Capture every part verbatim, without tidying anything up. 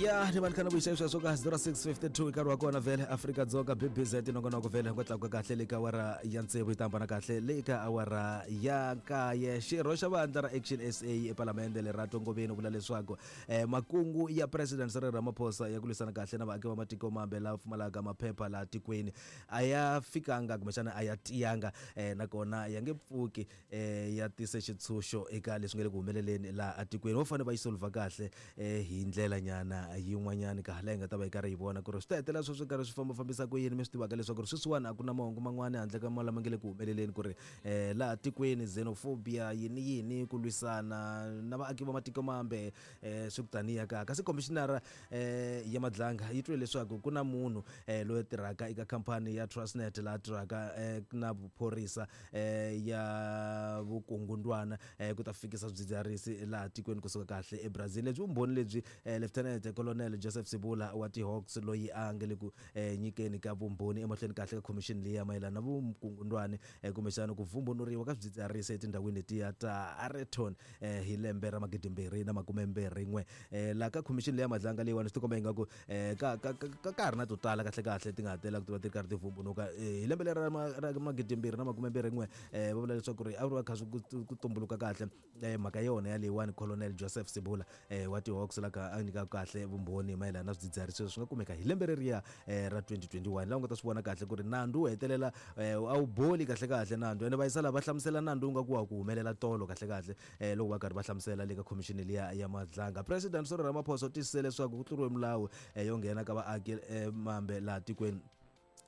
Ya ni vankhana vuyisa sweswo ka zero six fifty-two nkarhi wa kona vhele Afrika-Dzonga B B Z nongonoko vhele ku tlakuka kahle le ka awara ya tsevu yi ta hambana kahle le ka awara ya nkaye. Xirho xa vandla ra Action S A ePalamende Lerato Ngobeni u vula leswaku eh, makungu ya President Cyril Ramaphosa ya ku lwisana kahle na vaaki va matiko mambe lava pfumalaka maphepha laha tikweni a ya fikanga kumbexana a ya tiyanga eh, nakona ya nge pfuki eh, ya tise xitshunxo eka leswi nga le ku humeleleni laha atikweni. Vo fanele va yi solva kahle eh, hi ndlela nyana yin'wanyani ka hala hi nga ta va hi karhi hi vona ku ri swi ta hetelela sweswi karhi swi fambafambisa ku yini. Mi swi tivaka leswaku ri sweswiwani a ku na mahungu man'wani handle ka lama nga le ku humeleleni ku ri eh, laha tikweni xenophobia yini yini ku lwisana na vaaki va matiko mambe eh, swi ku taniya ka. Kasi commissioner eh, ya Madlanga yi twile leswaku ku na munhu eh, loyi tirhaka eka khampani ya Transnet laha tirhaka eh, na vuphorisa eh, ya vukungundwana eh, ku ta fikisa swidzidziharisi laha tikweni kusuka kahle eBrazil. Lebyi vumbhoni lebyi eh, Lieutenant Colonel Joseph Sibula wa T-Hawks loyi a nga le ku eh, nyikeni ka vumbhoni emahlweni kahle ka commission leyi ya mayelana na vukungundwani eh, kumbexana ku vumbunuriwa ka swidzidziharisi etindhawini letiya ta Areton eh, hi lembe ra magidimbirhi na makumembirhi n'we. Eh, laha ka commission leyi ya Madlanga leyiwani swi tikomba ingaku eh, ka ka ka ka ha ri na to tala kahle kahle ti nga hatela ku ti va ti ri karhi ti vumbunuka eh, hi lembe leri ra magidimbirhi na makumembirhi n'we eh, va vula leswaku ri a ri va kha swi ku tumbuluka kahle eh, mhaka yona ya leyiwani Colonel Joseph Sibula eh, wa T-Hawks la ka a nyikaka kahle vumbhoni mayelana na swidzidziharisi swi nga kumeka hi lembe reriya eh, ra twenty twenty-one. Laha u nga ta swi vona kahle ku ri nandzu wu hetelela eh, a wu boli kahle kahle nandzu ene va yisa lava hlamusela nandzu wu nga ku wa ku humelela tolo kahle kahle eh, loko va karhi va hlamusela le ka commission liya ya Madlanga. President Cyril Ramaphosa u tiyisise leswaku ku tluriwe milawu eh, yo nghena ka vaaki eh, mambe laha tikweni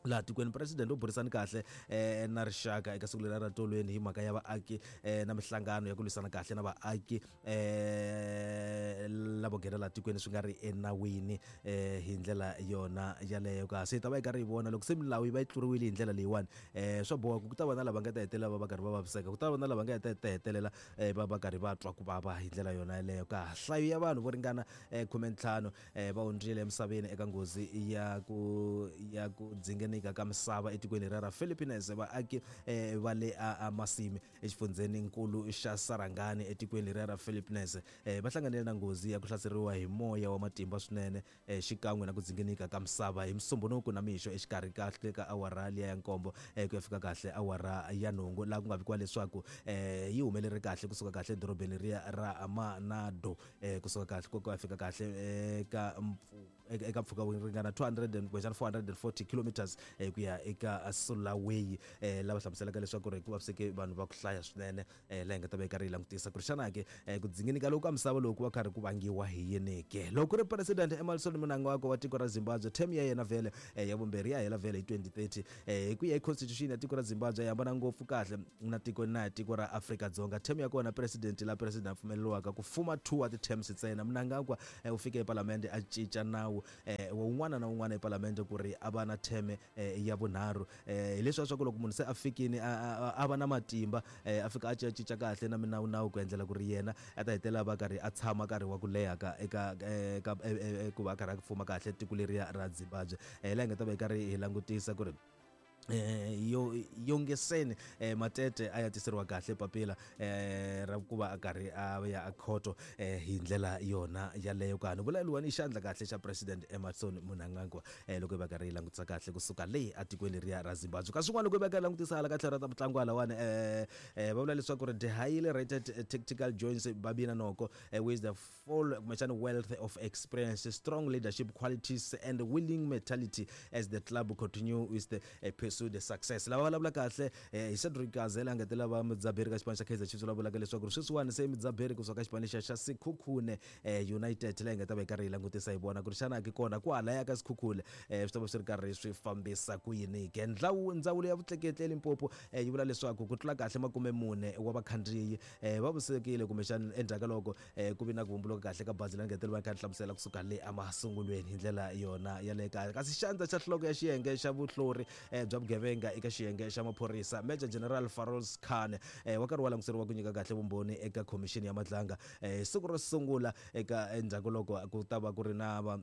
laha tikweni. President u burisani kahle eh, na rixaka eka siku leri ra tolweni hi mhaka ya vaaki eh, na mihlangano ya ku lwisana kahle na vaaki eh, lavo nghena laha tikweni swi nga ri enawini eh, hi ndlela yona yaleyo. Kasi hi ta va hi karhi hi vona loko se milawu yi va yi tluriwile hi ndlela leyiwani eh, swa boha ku ta va na lava nga ta hetelela va va karhi va vaviseka, ku ta va na lava nga ta hetelela eh, va va karhi va twa ku vava hi ndlela yona yaleyo. Ka nhlayo ya vanhu vo ringana eh, khume ntlhanu eh, va hundzile emisaveni eka nghozi ya ku ya ku dzingenika ka misava etikweni ra Philippines. Vaaki eh, va le Masimi exifundzheni nkulu xa Sarangani etikweni ra Philippines eh, va hlanganile na nghozi ya ku hlaseriwa hi moya wa matimba swinene eh, xikan'we na ku dzingenika ka misava hi Musumbhunuku na mixo exikarhi kahle ka awara liya ya nkombo eh, ku ya fika kahle awara ya nhungu, laha ku nga vikiwa leswaku eh, yi humeleri kahle kusuka kahle edorobeni riya ra Manado eh, kusuka kahle ku ya fika kahle eka eka mpfhuka wu ringana two hundred and four hundred and forty kilometers eh, ku ya eka Sulawesi eh, lava hlamuselaka leswaku ri ku vaviseke vanhu va ku hlaya swinene eh, laha hi nga ta va hi karhi hi langutisa ku ri xana ke eh, ku dzingenika loku ka misava loku va karhi ku vangiwa hi yini ke. Loko ku ri President Emmerson Mnangagwa wa tiko ra Zimbabwe, term ya yena vhele eh, ya vumbirhi ya hela vhele hi twenty thirty eh, hi ku ya hi constitution ya tiko ra Zimbabwe yi hambana ngopfu kahle na tiko na tiko ra Afrika-Dzonga. Term ya kona president la president a pfumeleriwaka ku fuma two wa ti-terms ntsena. Mnangagwa eh, u fike epalamende a cinca nawu eh, wa un'wana na un'wana epalamende ku ri a va na term eh, ya vunharhu eh, hileswiya swa ku loko munhu se a fikini a va na matimba eh, a fika a cinca kahle na minawu nawu ku endlela ku ri yena a ta hetelela va karhi a tshama karhi wa ku leha ka eka eka ku va a karhi a fuma kahle tiko leriya ra Zimbabwe. Eh, laha hi nga ta va hi karhi hi langutisa ku ri eh yo yongeseni eh, Matete a ya tiseriwa kahle papila eh, ra ku va a karhi a ya a khoto eh, hi ndlela yona yaleyo. Ka ni vula luwani xandla kahle xa President Emmerson Mnangagwa eh, loko va karhi langutisa kahle kusuka le atikweni leriya ra Zimbabwe. Kasi swin'wana loko va karhi langutisa hala ka tlhelo ra ta mitlangu halawani eh, eh, va vula leswaku ri the highly rated tactical joins Babina Noko eh, with the full wealth of experience, strong leadership qualities and willing mentality as the club continue with the eh, pursue the success. Lava vulavula kahle eh, hi Cedric Gazela a ngetela va mudzaberi ka xipano xa Kaizer Chiefs, la vulaka leswaku sweswiwani se mudzaberi kusuka ka xipano xa xa Sekhukhune eh, United leyi nga ta va yi karhi yi langutisa hi vona ku ri xana ke kona kwalaya ka Sekhukhune eh, swi ta va swi ri karhi swi fambisa ku yini ke. Ndlawu ndzawulo ya vutleketli eLimpopo eh, yi vula leswaku ku tlula kahle makume mune wa vakhandziyi eh, va vusekile kumbexana endzhaku ka loko eh, ku vi na ku vumbuluka kahle ka bazi la ngetela va kha hlamusela kusuka le emasungulweni hi ndlela yona ya le kaya. Kasi xandla xa nhloko ya xiyenge xa vuhlori eh, bya vugevenga eka xiyenge xa maphorisa Major General Farouz Khan eh, wa karhi wa languteriwa ku nyika kahle vumbhoni eka khomixini ya Madlanga eh, siku ro sungula eka endzhaku loko ku ta va ku ri na va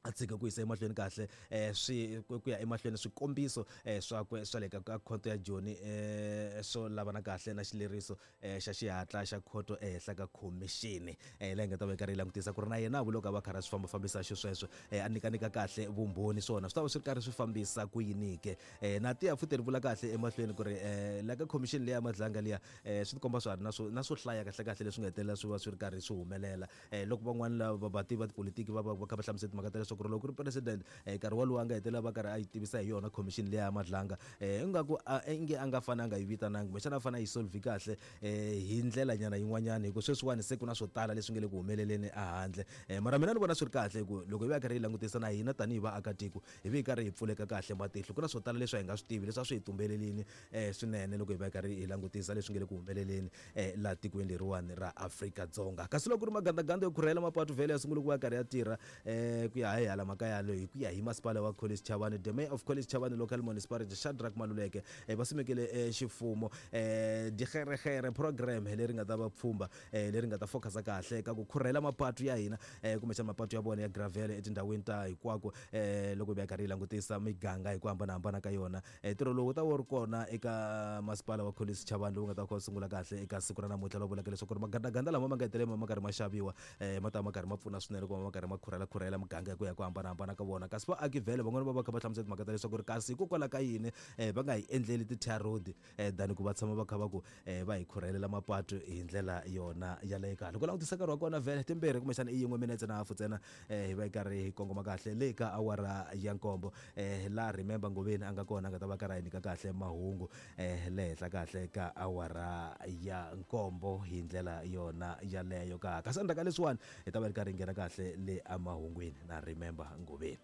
A tshika ku yisa emahlweni kahle um swi ku ya emahlweni swikombiso um swakwe swa le ka ka khoto ya Joni um swo lavana kahle na xileriso um xa xihatla xa khoto ehenhla ka khomixini um leyi nga ta va yi karhi yi langutisa ku ri na yena loko a va karhi a swi fambafambisa xisweswo um a nyikanika kahle vumbhoni swona swi ta va swi ri karhi swi fambisa ku yini ke. um na tiya futhi ri vula kahle emahlweni ku ri um la ka khomixini leyi ya Madlanga liya um swi tikomba swa ha ri na swo na swo hlaya kahle kahle leswi nga hetelela swi va swi ri karhi swi humelela um loko van'wani lava vativi va tipolitiki va va va kha va hlamusela timhaka ta leswaku loko ku ri president nkarhi wolowo a nga hetelela va karhi a yi tivisa hi yona commission leyi ya Madlanga um ingaku inge a nga fane a nga yi vitanangi kumbexana a fane a yi solve kahle um hi ndlela nyana yin'wanyana hi ku sweswiwani se ku na swo tala leswi nga le ku humeleleni ehandle. um mara mina ni vona swi ri kahle hi ku loko hi va karhi hi langutisa na hina tanihi vaakatiko hi vi hi karhi hi pfuleka kahle matihlo ku na swo tala leswi a hi nga swi tivi leswi a swi hi tumbelelini um swinene loko hi va hi karhi hi langutisa leswi nga le ku humeleleni um laha tikweni leriwani ra Afrika-Dzonga. Kasi loko ku ri magandaganda yo khurhela mapatu vhele ya sungula ku va karhi ya tirha um ku ya hi hala mhaka yaleyo hi ku ya hi masipala wa Collins Chabane, the mayor of Collins Chabane local municipality Shadrack Maluleke um va simekile um ximfumo um digeregere program leri nga ta va pfhumba um leri nga ta focusa kahle ka ku khurhela mapatu ya hina um kumbexana mapatu ya vona ya gravel etindhawini ta hinkwako um loko hi va hi karhi hi langutisa miganga hi ku hambanahambana ka yona. um ntirho lowu wu ta va wu ri kona eka masipala wa Collins Chabane lowu nga ta kha wu sungula kahle eka siku ra namuntlha lowu vulaka leswaku ri magandaganda lama ma nga hetelela ma karhi ma xaviwa um ma ta va ma karhi ma pfuna swinene ku va ma karhi ma khurhela khurhela miganga hi ku ya ku hambanahambana ka vona. Kasi vaaki vhele van'wani va va kha va hlamusela timhaka ta leswaku ri kasi hikokwalaho ka yini um va nga hi endleli ti-tar road um than ku va tshama va kha va ku um va hi khurhelela mapatu hi ndlela yona yaleyo kahle. Loko langutisa nkarhi wa kona vhele timbirhi kumbexana i yin'we minetse na hafu ntsena um hi va hi karhi hi kongoma kahle le ka awara ya nkombo um laha Remember Ngoveni a nga kona a nga ta va karhi a hi nyika kahle mahungu um le henhla kahle ka awara ya nkombo hi ndlela yona yaleyo ka. Kasi endzhaku ka leswiwani hi ta va ri karhi hi nghena kahle le emahungwini na Remember Ngoveni.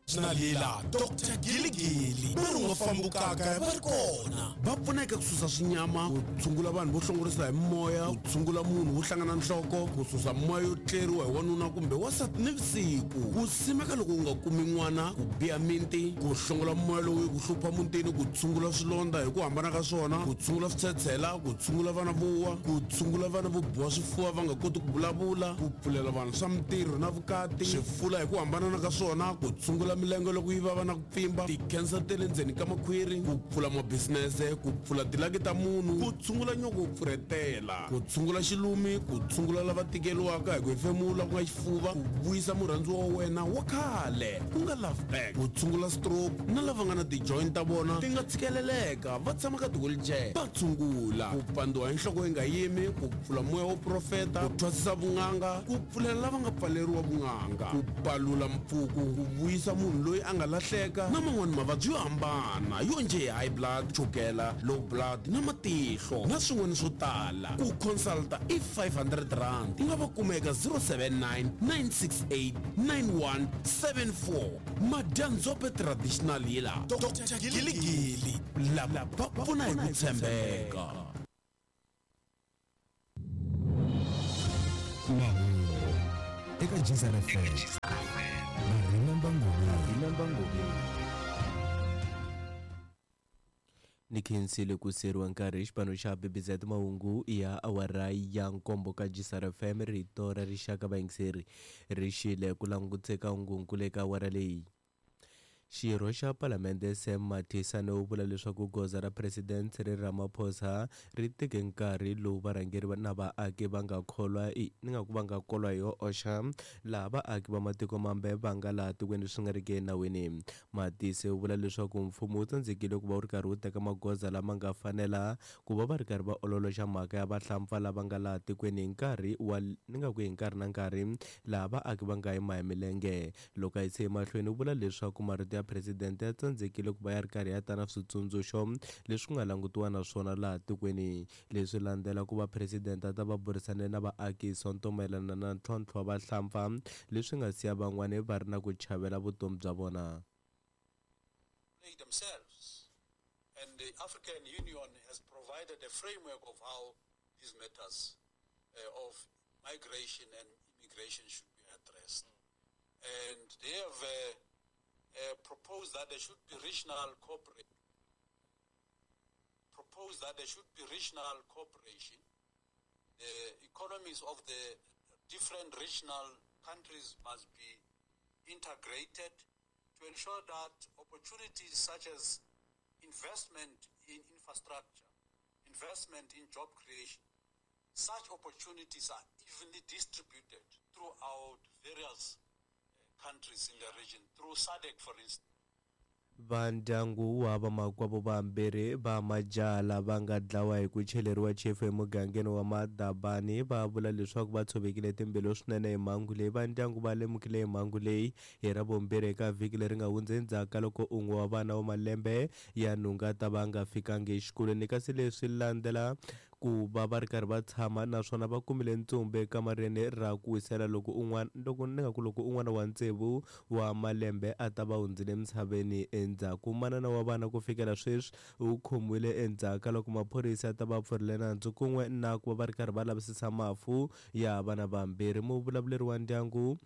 Nalela Doctor Giligili va ri nga fambukaka va ri kona va pfuneka ku susa swinyama ku tshungula vanhu vo hlongorisa hi moya ku tshungula munhu wo hlangana nhloko ku susa moya yo tleriwa hi wanuna kumbe wansati nivusiku ku simeka loko u nga kumi n'wana ku biha minti ku hlongola moya lowu ku hlupha mutini ku tshungula swilondza hi ku hambana ka swona ku tshungula switshetshela ku tshungula vana vo wa ku tshungula vana vo biwa swifuva va nga koti ku vulavula ku pfulela vanhu swa mintirho na vukati swifula hi ku hambanana ka swona ku tshungula milenge loko yi vava na ku pfimba ti-cancer ta le ndzeni ka makhwiri ku pfula mabisinese ku pfula tilaki ta munhu ku tshungula nyoko wo pfurhetela ku tshungula xilumi ku tshungula lava tikeriwaka hi ku hefemula ku nga xifuva ku vuyisa murhandziwa wa wena wa khale ku nga love back ku tshungula stroke na lava nga na ti-joint ta vona ti nga tshikeleleka va tshama ka ti-wheelchair va tshungula ku pandziwa hi nhloko yi nga yimi ku pfula moya wo profeta ku thwasisa vun'anga ku pfulela lava nga pfaleriwa vun'anga ku palula mpfuku ku vuyisa munhu loyi a nga lahleka na man'wani mavabyi yo hambana yo njhe hi high blood chukela low blood na matihlo na swin'wana swo tala ku consulta i five hundred rand u nga va kuma eka zero seven nine nine six eight nine one seven four Madyandzhope traditional yila Doctor Giligili lava va pfuna hi ku tshembeka. Mahungu eka G S F M na Remember Ngoveni. Remember Ngoveni. Ni khensile ku seriwa nkarhi xipano xa B B Z mahungu ya awara ya nkombo ka G S R F M rito ra rixaka vayingiseri ri xile ku languteka hungunkulu eka awara leyi. Xirho xa Palamende Sam Mathisane u vula leswaku goza ra President Cyril Ramaphosa ri teke nkarhi lowu varhangeri na vaaki va nga kholwa ni nga ku va nga kolwa hi yo oxa laha vaaki va matiko mambe va nga laha tikweni swi nga ri ki enawini. Matise u vula leswaku mfumo wu tsandzekile ku va wu ri karhi wu teka magoza lama nga fanela ku va va ri karhi va ololoxa mhaka ya vahlampfa lava nga laha tikweni hi nkarhi wa ni nga ku hi nkarhi na nkarhi laha vaaki va nga yima hi milenge. Loko a yise emahlweni u vula leswaku marito ya presidente ya tsandzekile ku va ya ri karhi ya ta na switsundzuxo leswi nga langutiwa na swona laha tikweni. Leswi landzela ku va presidente a ta va burisane na vaaki hi Sonto mayelana na ntlhontlho wa vahlampfa leswi nga siya van'wani va ri na ku chavela vutomi bya vona. Themselves and the African Union has provided a framework of how these matters uh, of migration and immigration should be addressed. And they have uh, uh, proposed that there should be regional cooperation. Proposed that there should be regional cooperation. The economies of the different regional countries must be integrated to ensure that opportunities such as investment in infrastructure, investment in job creation, such opportunities are evenly distributed throughout various countries in the region, through S A D C, for instance. Vandyangu wa vamakwavo vambirhi va majaha lava nga dlawa hi ku cheleriwa chefu emugangeni wa Madabani va vula leswaku va tshovekile timbilu swinene hi mhangu leyi. Vandyangu va lemukile hi mhangu leyi hi Ravumbirhi eka vhiki leri nga hundza endzhaku ka loko un'we wa vana wa malembe ya nhungu a ta va nga fikangi exikolweni, kasi leswi landzela ku va va ri karhi va tshama naswona va kumile ntsumbu ekamareni ra ku wisela loko un'wana loko ni nga ku loko un'wana wa tsevu wa malembe a ta va hundzile emisaveni endzhaku. Manana wa vana ku fikela sweswi u khomiwile endzhaku ka loko maphorisa ta va pfurile nandzu kun'we na ku va va ri karhi va lavisisa mafu ya vana vambirhi. Muvulavuleri wa ndyangu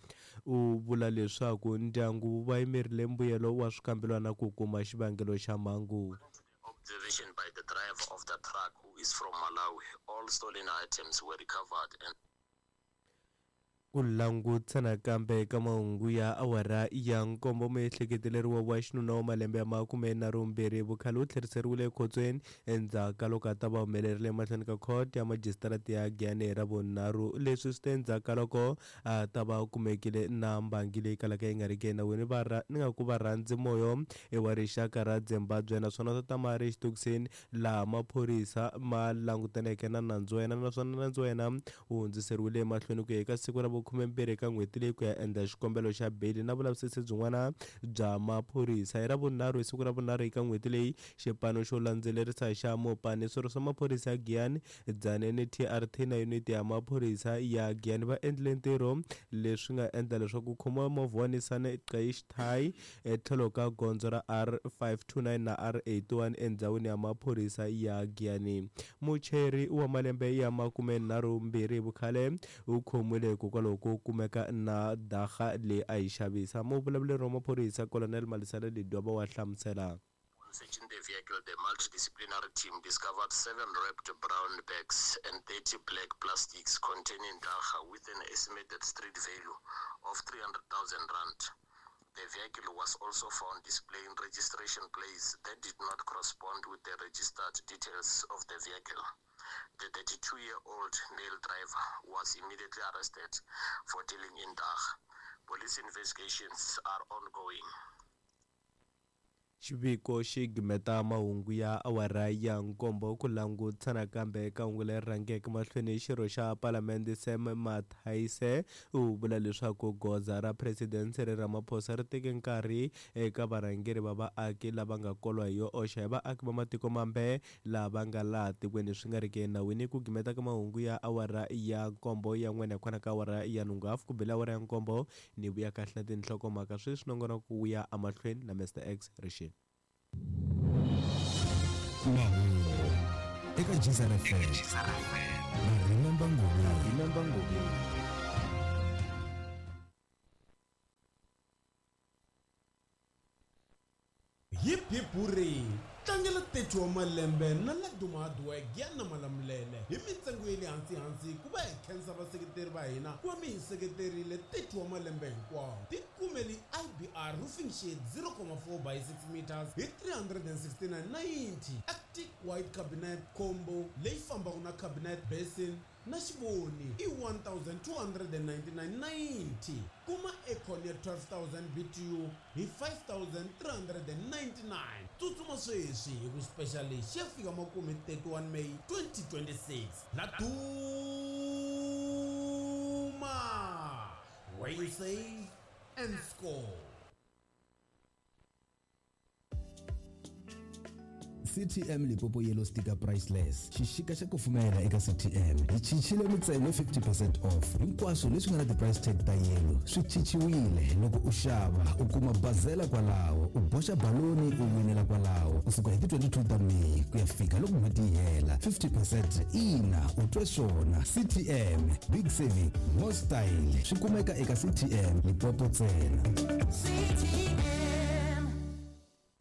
u vula leswaku ndyangu va yimerile mbuyelo wa swikambelwana ku kuma xivangelo xa mhangu. Observation by the driver of the truck, who is from Malawi, all stolen items were recovered and ku langutisa nakambe eka mahungu ya awara ya nkombo. Muehleketeleriwa wa xinuna wa malembe ya makume nharhu mbirhi vukhale u tlheriseriwile ekhotsweni endzhaku ka loko a ta va humelerile emahlweni ka khoto ya majisitarata ya Giyani hi Ravunharhu. Leswi swi te endzhaku ka loko a ta va kumekile na mbangi leyi kalaka yi nga riki enawini. Ni nga ku varhandzi moyo i wa rixaka ra Zimbabwe naswona swo tama ri exitokisini laha maphorisa ma langutaneke na nandzu wa yena, naswona nandzu wa yena wu hundziseriwile emahlweni ku ya eka siku ra khumembirhi eka n'hweti leyi ku ya endla xikombelo xa beyili na vulavisisi byin'wana bya maphorisa. Hi Ravunharhu hi siku ra vunharhu eka n'hweti leyi, xipano xo landzelerisa xa Mopani, swirho swa maphorisa ya Giyani, Dzaneni T R T na yuniti ya maphorisa ya Giyani va endlile ntirho leswi nga endla leswaku khomiwa movha wa Nissan Qashqai etlhelo ka gondzo ra R five two nine na R eighty-one endhawini ya maphorisa ya Giyani. Mucheri wa malembe ya makumenharhu mbirhi hi vukhale u khomiwile hikokwalaho ku kumeka na daga leyi a yi xavisa. Muvulavuleri wa maphorisa Colonel Malisela Ledwaba wa hlamusela. On searching the vehicle, the multidisciplinary team discovered seven wrapped brown bags and thirty black plastics containing daga with an estimated street value of three hundred thousand rand. The vehicle was also found displaying registration plates that did not correspond with the registered details of the vehicle. The thirty-two-year-old male driver was immediately arrested for dealing in daga. Police investigations are ongoing. Xiviko xi gimeta mahungu ya awara ya nkombo. Ku langutisa nakambe eka hungu leri rhangeke mahlweni, xirho xa palamende Sam Mathaise u vula leswaku goza ra President Cyril Ramaphosa ri teke nkarhi eka varhangeri va vaaki lava nga kolwa hi yo oxa hi vaaki va matiko mambe lava nga laha tikweni swi nga riki enawini. Ku gimeta ka mahungu ya awara ya nkombo ya n'wina hikwalaho ka awara ya nhungu hafu ku bela awara ya nkombo ni vuya kahle na tinhlokomhaka sweswi nongonoko wu ya emahlweni na Mister X Rishi. Mahungu eka G S R F M na Remember Ngobeni. Remember Ngobeni. Hip hip hooray! Tlangela thirty wa malembe na Laduma Hardware Giyani Malamulele hi mintsengo ya le hansi hansi ku va hi khensa vaseketeri va hina ku va mi hi seketerile thirty wa malembe hinkwawo. Tikumeli I B R roofing sheet zero point four by six meters hi three hundred and sixty-nine ninety, Arctic white cabinet combo leyi fambaka na cabinet basin na xivoni i one thousand two hundred and ninety-nine ninety. Kuma aircon ya twelve thousand B T U hi five thousand three hundred and ninety-nine. Tsutsuma sweswi hi ku special lexi ya fika makume thirty-one May twenty twenty-six. Laduma, where you save and score. C T M Limpopo Yellow Sticker Priceless. Xixika xa kufumela eka C T M. Hi cincile mintsengo fifty percent off. Hinkwaswo leswi nga na ti-price tag ta yellow swi cinciwile. Loko u xava u kuma bazela kwalaho, u boxa baloni u winela kwalaho. Kusuka hi ti twenty-two ta May ku ya fika loko n'hweti yi hela. fifty percent ina u twe swona. C T M, big saving, more style. Swi kumeka eka C T M Limpopo ntsena. C T M.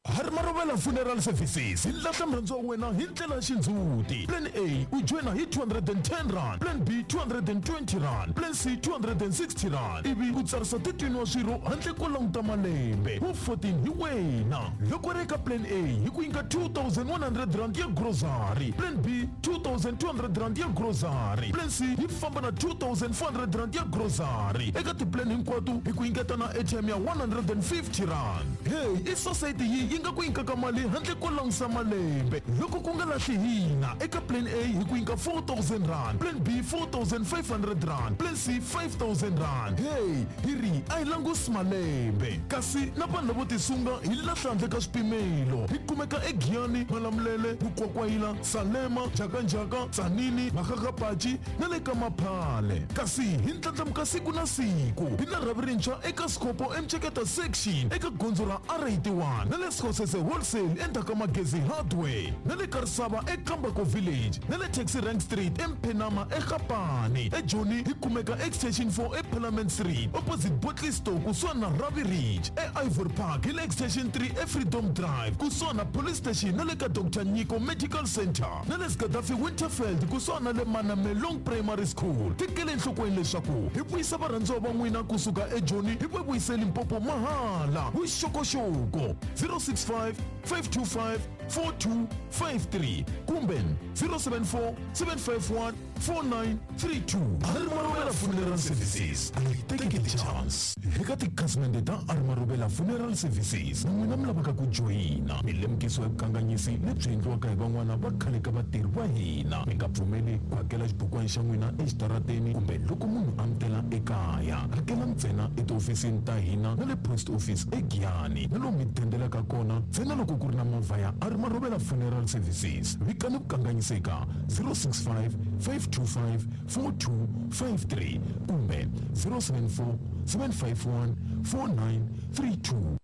Hari marovela Marobela Funeral Services hi lahla murhandziwa wa wena hi ndlela ya xindzhuti. Plan A u joyina hi two hundred and ten rand, Plan B two hundred and twenty rand, Plan C two hundred and sixty rand, ivi u tsarisa thirteen wa swirho handle ko languta malembe. Wu fourteen hi wena. Loko ri eka Plan A hi ku nyika two thousand one hundred rand ya grocery, Plan B two thousand two hundred rand ya grocery, Plan C yi famba na two thousand four hundred rand ya grocery. Eka tiplan hinkwato hi ku nyiketa na airtime ya one hundred and fifty rand. Hey, i society yi yi nga ku nyikaka mali handle ko langusa malembe. Loko ku nga lahli hina, eka Plan A hi ku nyika four thousand rand, Plan B four thousand five hundred rand, Plan C five thousand rand. Hey, hi ri a hi langusi malembe. Kasi na vanhu lavo tisunga hi lahla handle ka swipimelo. Hi kumeka eGiyani, Malamulele, Mukwakwayila, Salema, Njhakanjhaka, Tzaneen, Makgakgapachi na le ka Maphale. Kasi hi ndlandlamuka siku na siku. Hi na rhavi rintshwa eka Sikopo eMtsheketa section eka gondzo ra R eighty-one na le Sekgosese Wholesale endzhaku ka Magezi Hardware na le Karisava eKambako Village na le Taxi Rank Street eMphenama eGapane. eJoni hi kumeka Extension four eParliament Street opposite Botley Store kusuhani na Ravi Ridge. E-Ivory Park hi le Extension three eFreedom Drive kusuhani na Police Station na le ka Doctor Nyiko Medical Center na le Gaddafi Winterfeld kusuhani na le Manamelong Primary School. Tekele enhlokweni leswaku hi vuyisa varhandziwa va n'wina kusuka eJoni hi va vuyise Limpopo mahala. Vuxokoxoko zero six five, five two five, four two five three kumbe zero seven four, seven five one, four nine three two. Arimarobela Funeral Services, a hi teki ti-chance. Eka tikhasimende ta Arimarobela Funeral Services, na n'wina mi lavaka ku joyina, mi lemukisiwa hi vukanganyisi lebyi endliwaka hi van'wana va khale ka vatirhi va hina. Mi nga pfumeli ku hakela xibukwana xa n'wina exitarateni kumbe loko munhu a mi tela ekaya. Hakela ntsena etihofisini ta hina na le post office eGiyani na lomu mi dendelaka kona ntsena loko ku ri na movha ya Arimarobela Funeral Services. Vikani vukanganyisi eka zero six five, five two five, four two five three kumbe zero seven four, seven five one, four nine three two.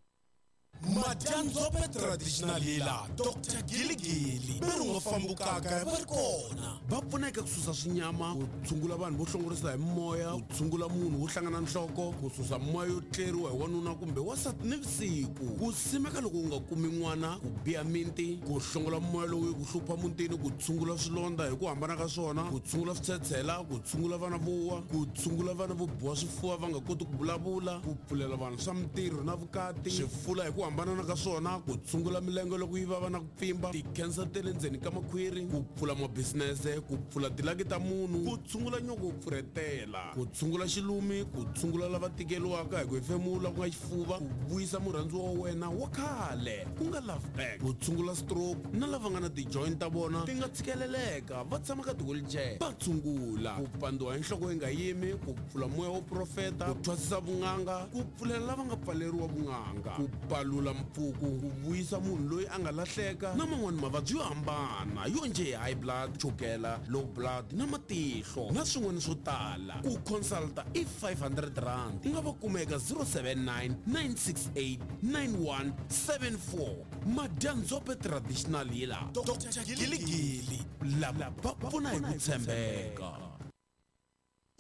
Madyanzope Traditional Healer Doctor Giligili ve ri nga fambukaka va ri kona. Va pfuna eka ku susa swinyama, ku tshungula vanhu vo hlongorisa hi moya, ku tshungula munhu wo hlangana nhloko, ku susa moya yo tleriwa hi wanuna kumbe wansati nivusiku, ku simeka loko u nga kumi n'wana, ku biha minti, ku hlongola moya lowu yi ku hlupha mutini, ku tshungula swilondza hi ku hambana ka swona, ku tshungula switshetshela, ku tshungula vana vo wa, ku tshungula vana vo biwa swifuva va nga koti ku vulavula, ku pfulela vanhu swa mintirho na vukati, swifula hi ku hambana ka swona, ku tshungula milenge loko yi vava na ku pfimba, ti-cancer ta le ndzeni ka makhwiri, ku pfula mabisinese, ku pfula tilaki ta munhu, ku tshungula nyoko wo pfurhetela, ku tshungula xilumi, ku tshungula lava tikeriwaka hi ku hefemula ku nga xifuva, ku vuyisa murhandziwa wa wena wa khale ku nga love back, ku tshungula stroke na lava nga na ti-joint ta vona ti nga tshikeleleka va tshama ka ti-wheelchair va tshungula, ku pandziwa hi nhloko yi nga yimi, ku pfula moya wo profeta, ku thwasisa vun'anga, ku pfulela lava nga pfaleriwa vun'anga, ku palula mpfuku, ku vuyisa munhu loyi a nga lahleka na man'wani mavabyi yo hambana yo njhe high blood, chukela, low blood na matihlo na swin'wana swo tala. Ku consulta i five hundred rand. U nga va kuma eka zero seven nine, nine six eight, nine one seven four. Madyanzope Traditional Healer Doctor Giligili lava va pfuna hi ku tshembeka.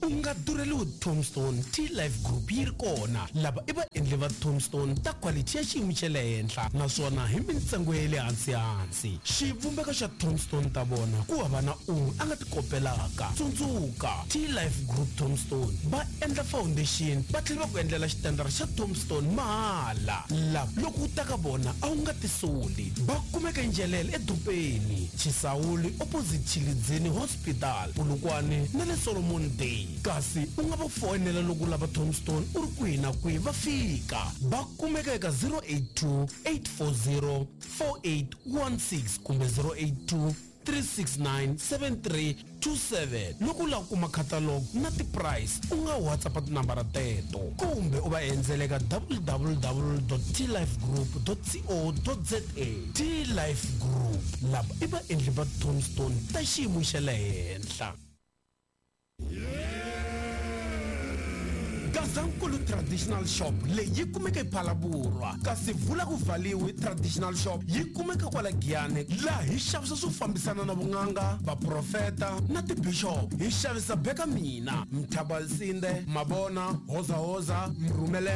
U nga durheliwi Tombstone T-Life Group yi ri kona. Lava i vaendli va Tombstone ta quality ya xiyimo xa le henhla naswona hi mintsengo ya le hansi-hansi. Xivumbeko xa Tombstone ta vona ku hava na un'we a nga ti kopelaka. Tsundzuka, T-Life Group Tombstone va endla foundation va tlhela va ku endlela xitandara xa Tombstone mahala. Lava loko u ta ka vona a wu nga tisoli. Va kumeka Njelele edorobeni, Chisawuli opposite Tshilidzini Hospital, Polokwane na le Solomon Day. Kasi u nga va foyinela loko u lava Tombstone u ri kwihi na kwihi va fika. Va kumeka eka zero eight two, eight four zero, four eight one six kumbe zero eight two, three six nine, seven three two seven. Loko u lava ku kuma catalog na ti-price u nga WhatsApp tinambara teto kumbe u va endzela eka w w w dot t life group dot co dot z a. T-Life Group lava i vaendli va Tombstone ta xiyimo xa le henhla. Gazankulu Traditional Shop leyi yi kumeka ePhalaborwa, kasi vula ku vhaliwe Traditional Shop yi kumeka kwala Giyani, laha hi xavisa swo fambisana na vun'anga, vaprofeta na tibishop. Hi xavisa beka mina, Mthabalisinde, Mabona, Hozahoza, Mrhumele.